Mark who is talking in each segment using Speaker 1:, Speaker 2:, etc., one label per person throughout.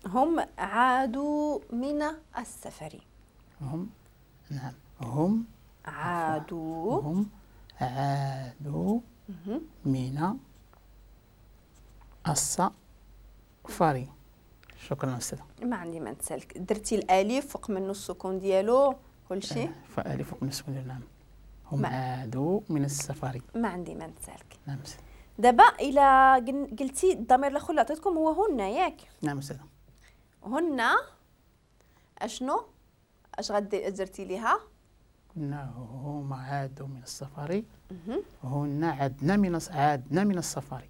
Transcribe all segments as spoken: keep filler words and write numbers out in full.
Speaker 1: هم عادوا من السفر.
Speaker 2: هم نعم هم
Speaker 1: عادوا
Speaker 2: هم عادوا من السفر. شكرا أستاذة.
Speaker 1: ما عندي ما نتسالك. درتي الألف فوق منه السكون ديالو كل شيء.
Speaker 2: فألف فوق منه السكون ديالو. نعم هم عادوا من السفر.
Speaker 1: ما عندي ما نتسالك.
Speaker 2: نعم.
Speaker 1: دابا إلا قلتي الضمير الآخر اللي عطيتكم هو هن، ياك؟
Speaker 2: نعم أستاذة.
Speaker 1: هن أشنو؟ أش غدي درتي ليها؟
Speaker 2: قلنا هما عادوا من السفر، هن عدنا من عادنا من السفر.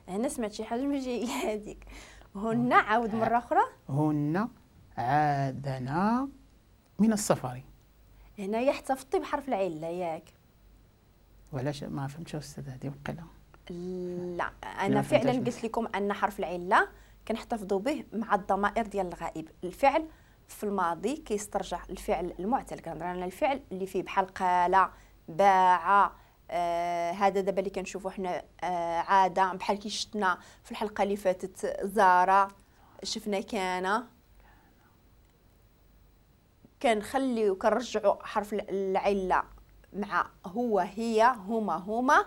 Speaker 1: هنا سمعت شي حاجة ماشي هي هذيك. هن عاود مرة أخرى.
Speaker 2: هن عادنا من السفر.
Speaker 1: هنايا احتفظتي بحرف العلة، ياك؟
Speaker 2: وعلاش ما فهمتش أستاذ هذه وقيله؟
Speaker 1: لا أنا فعلا قلت لكم أن حرف العلة كنحتفظوا به مع الضمائر ديال الغائب. الفعل في الماضي كيسترجع الفعل المعتل، كنهضر على الفعل اللي فيه بحال قال، باع، آه هذا دابا اللي كنشوفوا حنا آه عادة، بحال كي شفنا في الحلقة اللي فاتت زارة، شفنا كان، كنخليو كنرجعوا حرف العلة مع هو، هي، هما، هما،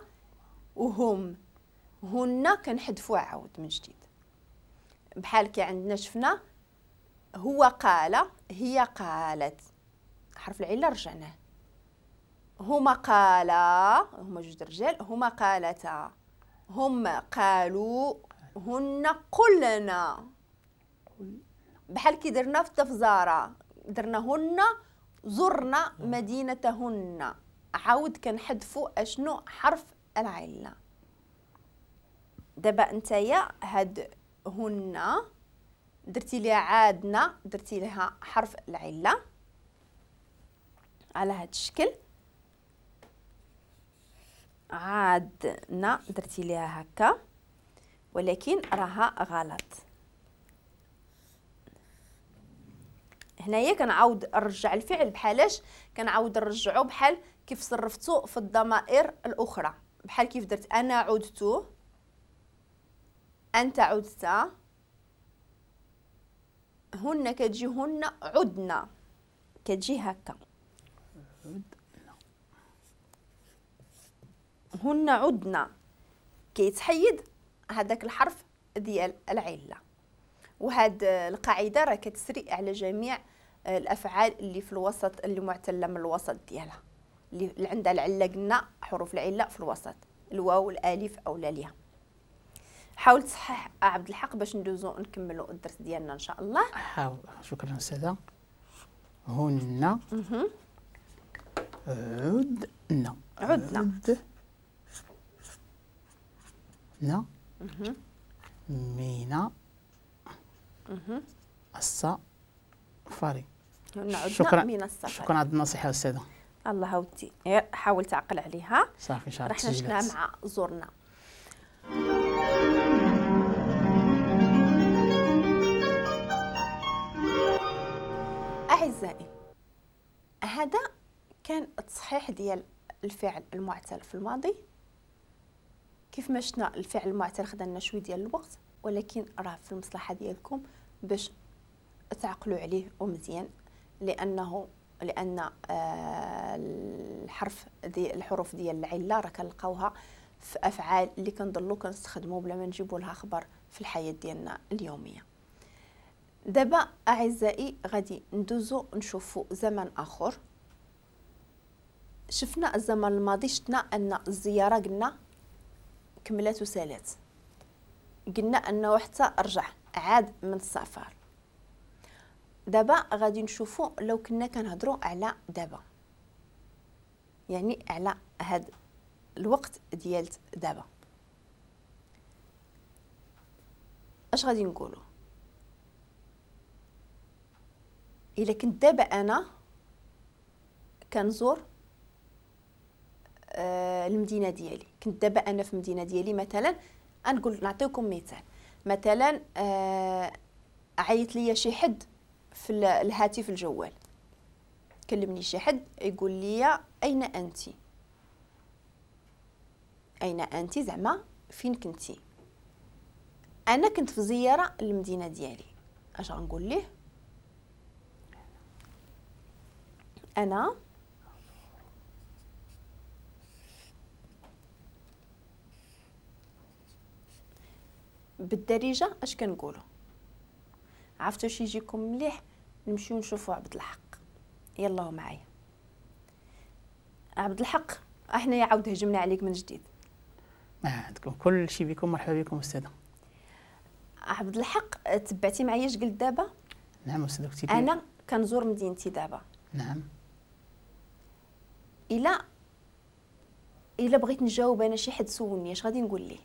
Speaker 1: وهم. هن كنحذفوا عاود من جديد. بحال كي عندنا شفنا هو قال، هي قالت، حرف العلة رجعناه. هما قالا، هما جوج رجال، هما قالتا، هم قالوا، هن قلنا. بحال كي درنا في التفزارة، درنا هن زرنا مدينتهن، عاود كنحذفوا اشنو؟ حرف العلة. دابا نتايا هاد هن درتي ليها عادنا، درتي لها حرف العلة على هاد الشكل، عادنا درتي ليها هكا، ولكن راها غلط. هنايا كنعاود نرجع الفعل بحالاش؟ كنعاود نرجعو بحال كيف صرفتو في الضمائر الاخرى، بحال كيف درت انا عدت، انت عدت، هن كتجي هن عدنا، كتجي هكا هن عدنا، كيتحيد هذاك الحرف ديال العلة. وهاد القاعدة راه كتسري على جميع الافعال اللي في الوسط، اللي معتله من الوسط ديالها، اللي عندها العلة، قلنا حروف العلة في الوسط، الواو الالف او الياء. حاول تصحح عبد الحق باش ندوزو نكملوا الدرس ديالنا ان شاء الله.
Speaker 2: حاول. شكرا استاذه. هن عدنا
Speaker 1: عدنا
Speaker 2: عدنا من السفر.
Speaker 1: شكرا من السفر.
Speaker 2: شكرا على النصيحة استاذه.
Speaker 1: الله ودي حاول تعقل عليها.
Speaker 2: صافي ان شاء الله.
Speaker 1: رحنا شفنا مع زورنا. أعزائي، هذا كان التصحيح ديال الفعل المعتل في الماضي. كيف ما شفنا الفعل المعتل خدا لنا شوية ديال الوقت، ولكن راه في المصلحة ديالكم باش تعقلوا عليه ومزيان، لانه لان آه الحرف دي الحروف ديال العلة راه كنلقاوها في افعال اللي كنضلوا كنستخدموا بلا ما نجيبوا لها خبر في الحياة ديالنا اليومية. دابا اعزائي غادي ندوزو نشوفوا زمن اخر. شفنا الزمن الماضي، شفنا ان الزيارة قلنا كملات وسالات، قلنا انه حتى رجع عاد من السفر. دابا غادي نشوفوا لو كنا كنهضروا على دابا، يعني على هاد الوقت ديال دابا، اش غادي نقولوا؟ الا كنت دابا انا كنزور آه المدينة ديالي، كنت دابا انا في المدينة ديالي مثلا، نقول نعطيكم مثال، مثلا آه عيط ليا شي حد في الهاتف الجوال، كلمني شي حد يقول لي اين انت، اين انت زعما فين كنتي. انا كنت في زيارة للمدينة ديالي، اش غنقول ليه؟ انا بالدارجة اش كنقولوا؟ عرفتوا واش يجيكم مليح؟ نمشيو نشوفوا عبد الحق. يلا معايا عبد الحق، احنا يا عاود هجمنا عليك من جديد.
Speaker 2: ما عندكم كل شيء بكم، مرحبا بكم استاذه.
Speaker 1: عبد الحق تبعتي معايا اش قلت دابا؟
Speaker 2: نعم استاذه. كنتي
Speaker 1: انا كنزور مدينتي دابا.
Speaker 2: نعم.
Speaker 1: الا الا بغيت نجاوب انا شي حد سولني اش غادي نقول ليه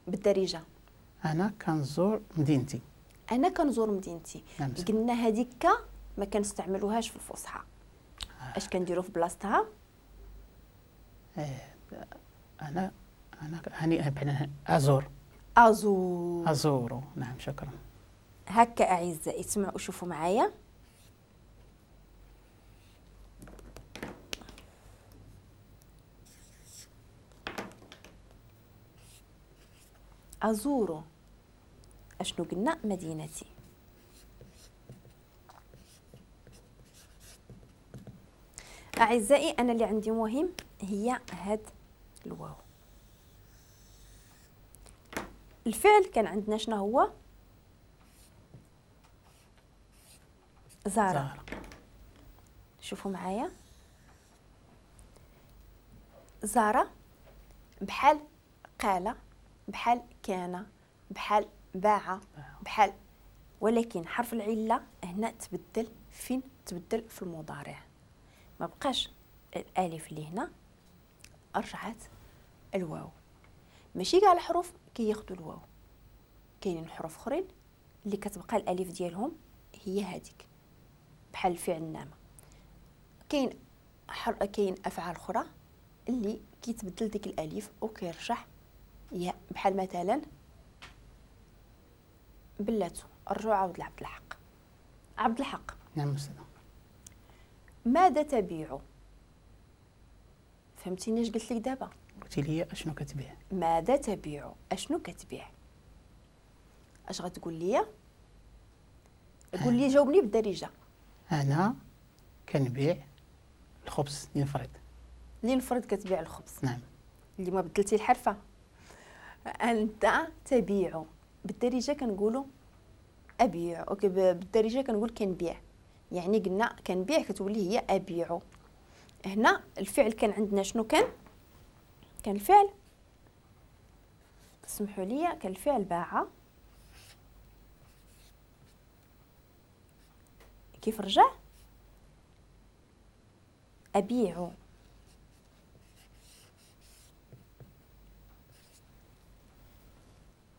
Speaker 1: بالدارجة؟
Speaker 2: انا كنزور مدينتي.
Speaker 1: انا كنزور مدينتي.
Speaker 2: نعم.
Speaker 1: قلنا هذيك ك ما كنستعملوهاش في الفصحى. آه. اش كنديروا في بلاصتها؟
Speaker 2: آه. انا انا هاني ازور.
Speaker 1: ازور.
Speaker 2: ازور. نعم شكرا.
Speaker 1: هكا اعزائي تسمعوا شوفوا معايا. أزور أشنو قلنا؟ مدينتي. أعزائي أنا اللي عندي مهم هي هاد الواو. الفعل كان عندنا شنو هو؟ زار. شوفوا معايا زار بحال قال، بحال كان، بحال باع، بحال، ولكن حرف العلة هنا تبدل. فين تبدل؟ في المضارع. ما بقاش الالف اللي هنا، رجعت الواو. ماشي كاع الحروف كياخذوا الواو، كاينين حروف اخرين اللي كتبقى الالف ديالهم هي هذيك، بحال الفعل النعمة. كاين حر... كاين افعال اخرى اللي كيتبدل ديك الالف وكيرجع يا، بحال مثلا بلاتو. رجعوا عاود لعبد الحق. عبد الحق.
Speaker 2: نعم استاذ.
Speaker 1: ماذا تبيع؟ فهمتيني اش قلت لك دابا؟
Speaker 2: قلتي لي اشنو كتبيع.
Speaker 1: ماذا تبيع؟ اشنو كتبيع؟ اش غتقول لي؟ قول لي، جاوبني بالدارجة.
Speaker 2: انا كنبيع الخبز لنفرض.
Speaker 1: لنفرض كتبيع الخبز.
Speaker 2: نعم.
Speaker 1: اللي ما بدلتي الحرفة. انت تبيع بالدارجة كنقولوا ابيع، okay بالدارجة كنقول كنبيع، يعني قلنا كنبيع كتولي هي ابيع. هنا الفعل كان عندنا شنو كان؟ كان الفعل، سمحوا لي، كان الفعل باع. كيف رجع؟ ابيع.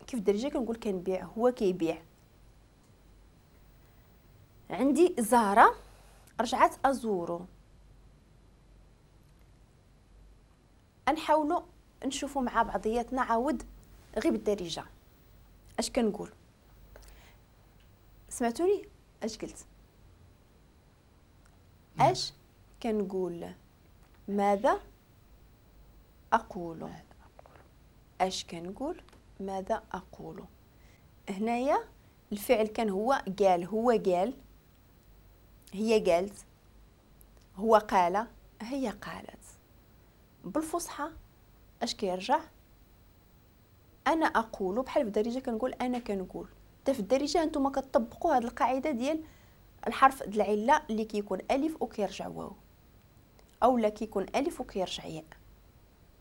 Speaker 1: كيف الدارجة كنقول كنبيع، هو كيبيع. عندي زهرة رجعت أزورو. نحاولوا نشوفوا مع بعضياتنا عاود غير بالدارجة اش كنقول. سمعتوني اش قلت؟ اش كنقول؟ ماذا أقول؟ اش كنقول؟ ماذا أقول؟ هنايا الفعل كان هو قال، هو قال، هي قالت، هو قال، هي قالت. بالفصحى اش كيرجع؟ انا اقول. بحال في الدارجة كنقول انا كنقول. حتى في الدارجة نتوما كتطبقوا هذه القاعدة ديال الحرف د العلة اللي كيكون الف وكيرجع واو، او لا كيكون الف وكيرجع ياء.